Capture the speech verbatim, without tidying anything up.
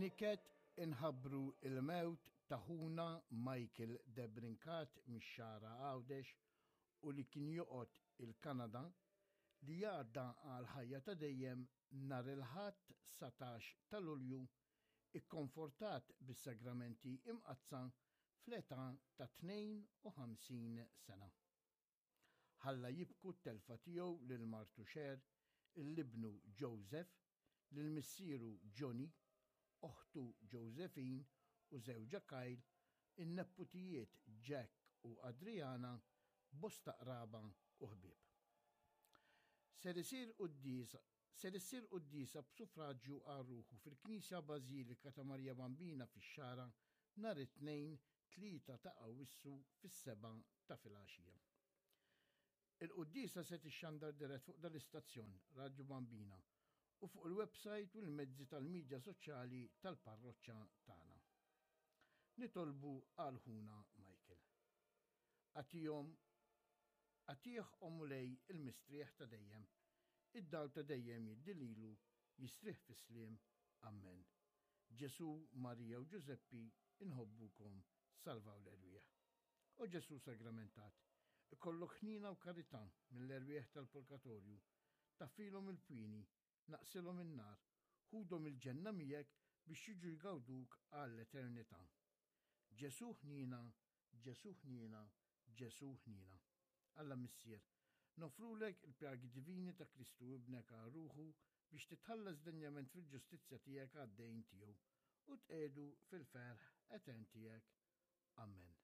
B'niket inħabbru il-mewt ta' ħuna Michael Debrincat mix-Xagħra Għawdex u li kien joqgħod il-Kanada, li għadda għal ħajja ta' dejjem nhar il-Ħadd satax ta' Lulju, ikkonfortat bis-sagramenti imqaddsa fl-età ta' tnejn u ħamsin sena. Ħalla jibku t-telfa tiegħu lil martu Cher, lil ibnu Joseph, lil missieru Johnny, oħtu Josephine u żewġha Kyle, in-neputijiet Jack u Adriana, bosta qraba u ħbieb. Ser isir quddiesa Ser issir quddiesa b'suffraġġju għal ruħu fil-Knisja Bażilika ta' Marija Bambina fix-Xagħra nhar it-Tnejn tlieta ta' Awissu fis-sebgħa ta' filgħaxija. Il-quddiesa se tixxandar dirett fuq dal-istazzjon Radio Bambina u fuq il-website u l-mezzi tal-medja soċjali tal-parroċċa tagħna. Nitolbu għal ħuna Michael. Agħtihom Agħtih, o Mulej, il-mistrieħ ta' dejjem. Id-dawl ta' dejjem jiddi lilu, jistrieħ fis-sliem. Amen. Ġesu, Marija u Ġużeppi, inħobbukom, salvaw l-erwieħ. O Ġesu sagramentat, ikollok ħnina u karità mill-erwieħ tal-purgatorju, taffilhom il-pini, naqqsilhom in-nar, ħudhom il-ġenna miegħek biex jiġu jgawduk għall-eternità. Ġesu ħnina, Ġesu ħnina, Ġesu ħnina. Alla Missier, noffrulek il-pjagi divini ta' Kristu ibnek għal ruħu biex titħallas denjament fil-ġustizzja tiegħek għad-dejn tiegħu u tqiegħdu fil-ferħ etern tiegħek. Amen.